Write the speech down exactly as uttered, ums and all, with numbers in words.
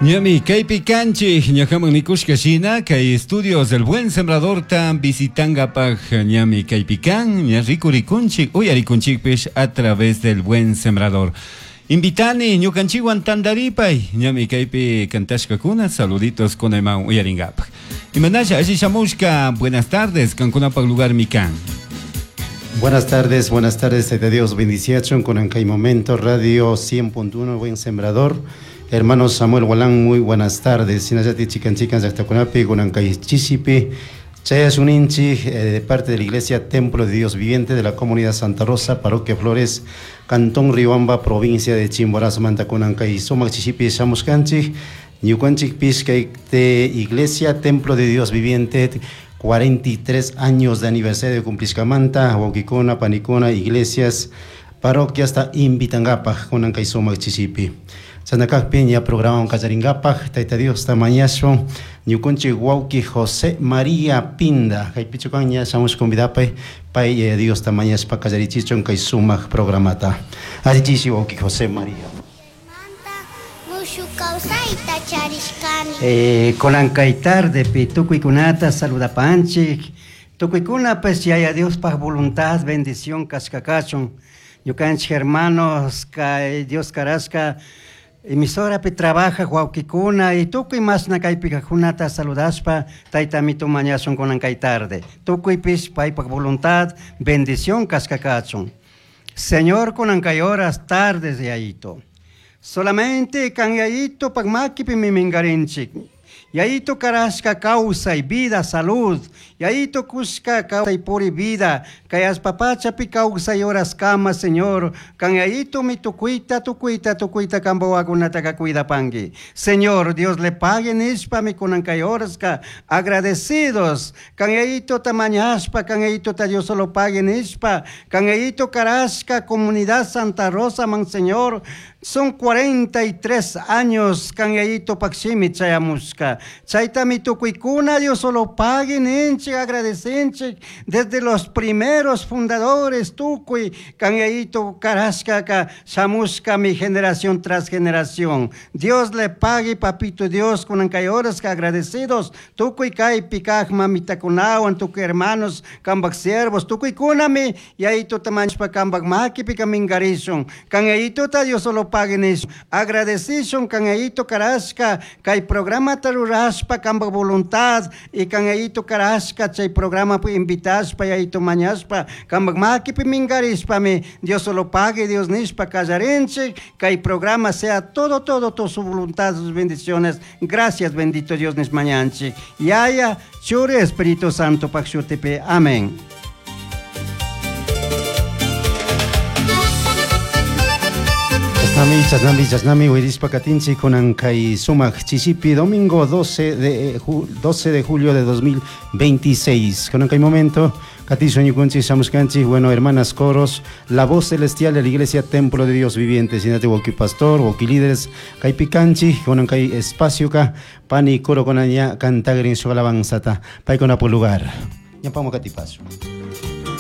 Ñami kaypi kanchik ñakaman nikushka shina kay estudios del Buen Sembrador tan visitangapaj ñami kaypi kan ña rikurikunchik uyarikunchikpish a través del Buen Sembrador. Invitani ñukanchikwan tantaripay ñami kaypi kantashkakuna saluditos kunayman uyaringapaj. Imanasha alli shamushka, buenas tardes, kankunapaj lugar mi kan. Buenas tardes, buenas tardes, Tayta Dios bendiciachun con kay momento Radio cien punto uno Buen Sembrador. Hermano Samuel Walán, muy buenas tardes. Sinayati chican chican llaqtakunapi kunan kay chisipi chayasuninchik eh, de parte de la Iglesia Templo de Dios Viviente de la Comunidad Santa Rosa, Parroquia Flores, Cantón Riobamba, provincia de Chimborazo, manta kunan kay sumaq chisipi shamuskanchik. Ñukanchik pishkay de Iglesia Templo de Dios Viviente, cuarenta y tres años de aniversario de cumplishkamanta, wawqikuna, panikuna, iglesias, parroquias ta invitangapaj kunan kay sumaq chisipi. Sanakakpi ña programa kallaringapaj, Tayta Dios ta mañashun, ñukunchik wawqi José María Pinda, kaypichukan ña shamush convidapay, pay eh, Dios ta mañashpa kallarichichun kay sumaq programata. Allichishi wawqi José María. Eh, kunan kay tarde pi tukuykunata saludapanchik, tukuykuna pues yaya Diospaj voluntad, bendición kashkakachun, ñukanchik hermanos kay Dios karashka emisora pi trabaja wawqikuna y tukuy masna kaypi kajkunata saludashpa tayta amito mañashun kunan kay tarde, tukuypish paypaj voluntad, bendición kashkakachun. Señor, kunan kay horas tardes yayito. Solamente kan yayito pagmakipi mimingarinchik. Yayito karashka kawsay, vida, salud. Yayito kushka kawsay puri vida. Kay allpapachapi kawsay horas kama, Señor. Kan yayito mi tukuita, tukuita, tukuita kambawakunataka cuidapangi. Señor, Dios le pague nishpa mi kunan kay horaska. Agradecidos. Kan yayito tamañashpa, kan yayito ta Dios solo pague nishpa. Kan yayito karashka comunidad Santa Rosa, man Señor. Son cuarenta y tres años kan yayito pakshimi chayamushka. Chaytami tukuykuna Dios solo pague ninchik, agradecenchik desde los primeros fundadores tukuy kan yayito karashka ka shamushka mi generación tras generación. Dios le pague papito Dios kunan kay horas ka agradecidos tukuy kay pikaj mamitakunawan tukuy hermanos kambak siervos tukuy kunami yayito tamanchpa kambak makipi kamingarishun kan yayito ta Dios solo pague nish agradecishun kan yayito karashka kay programa tarurashpa kambak voluntad y kan yayito karashka chay programa pu invitashpa yayito mañashpa kambak makipi mingarishpa mi Dios solo pague Dios nishpa kallarinchik kay programa sea todo todo todo su voluntad sus bendiciones. Gracias bendito Dios nish mañanchik yaya Churi Espíritu Santo pakshutipi amén. Chasnami, chasnami, chasnami, wirispa katinchik kunan kay sumaq chisipi, domingo doce de, doce de julio de dos mil veintiséis. Kunan kay momento, katisho ñukunchik shamushkanchik, bueno, hermanas coros, la voz celestial de la iglesia Templo de Dios Viviente, sinate wawqi pastor, wawqi líderes, kaypi kanchik, kunan kay espacio ka, pani coro kunan ña cantagrin su alabanzata, paykuna por lugar. Ñampamo katipaso.